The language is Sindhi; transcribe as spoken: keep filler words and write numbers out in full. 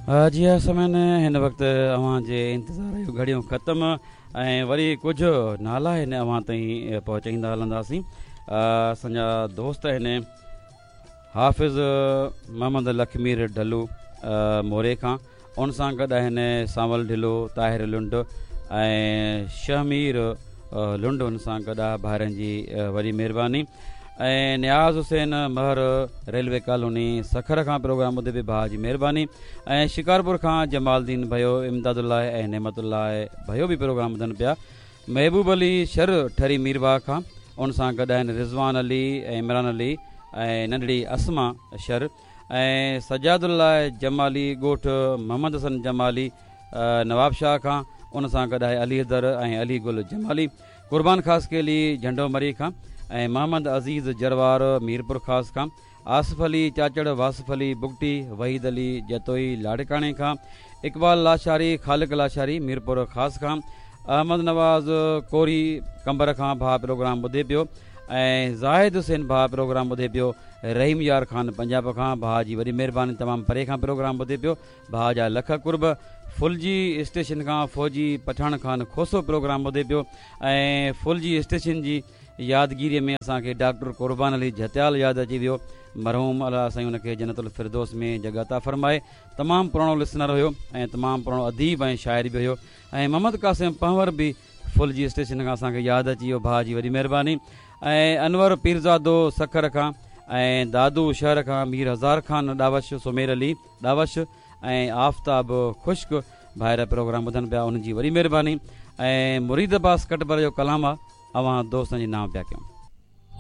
جي ها سامعين، هن وقت اوهان جي انتظار جون گهڙيون ختم ۽ وري ڪجهه نالا هن اوهان تائين پهچائيندا هلنداسين. اسان جا دوست آهن حافظ محمد لکمير ڍلو موري کان، ان سان گڏ آهن سانول ڍلو، طاهر لنڊ ۽ شهمير لنڊ، ان سان گڏ آهي. ڀائرن جي وڏي مهرباني. ۽ نياز حسين مهر ريلوي ڪالوني سکر کان پروگرام ٻڌي به ڀاء جي مهرباني. ۽ شڪارپور کان جمال الدين ڀيو، امداد الله ۽ نعمت الله ڀيو به پروگرام ٻڌن پيا. محبوب علي شر ٺري ميرواهه کان، ان سان گڏ آهن رضوان علي ۽ عمران علي ۽ ننڍڙي اسما شر. ۽ سجاد الله جمالي ڳوٺ محمد حسن جمالي نواب شاهه کان، ان سان گڏ آهي علي حيدر ۽ علي گل جمالي. قربان خاصخيلي جهنڊو مري کان ۽ محمد عزيز جروار ميرپور خاص کان، آصف علي چاچڙ، واصف علي بگٽي، وحيد علي جتوئي لاڙڪاڻي کان، اقبال لاشاري، خالق لاشاري ميرپور خاص کان، احمد نواز ڪوري قمبر کان ڀاء پروگرام ٻڌي پيو. ۽ زاهد حسين ڀاء پروگرام ٻڌي پيو رحيم يار خان پنجاب کان، ڀاء جي وڏي مهرباني، تمام پري کان پروگرام ٻڌي پيو، ڀاء جا لک قرب. ڦلجي اسٽيشن کان فوجي پٺاڻ خان کوسو پروگرام ٻڌي پيو. ۽ ڦلجي اسٽيشن جي يادگيريء ۾ اسان کي ڊاڪٽر قربان علي جهتيال ياد اچي ويو، مرحوم، الله سائين ان کي جنت الفردوس ۾ جڳهه عطا فرمائي. تمام پراڻو لسنر هيو ۽ تمام پراڻو اديب ۽ شاعر به هيو. ۽ محمد قاسم پنهور به ڦلجي اسٽيشن کان اسان کي ياد اچي ويو، ڀاء جي وڏي مهرباني. ۽ انور پيرزادو سکر کان ۽ دادو شهر کان مير هزار خان ڏاوش، سمير علي ڏاوش ۽ آفتاب خشڪ ڀائر پروگرام ٻڌن پيا، انهن جي وڏي مهرباني. ۽ مريد عباس ڪٽبر جو ڪلام آ اوهان دوستن جي نام پيا ڪيون.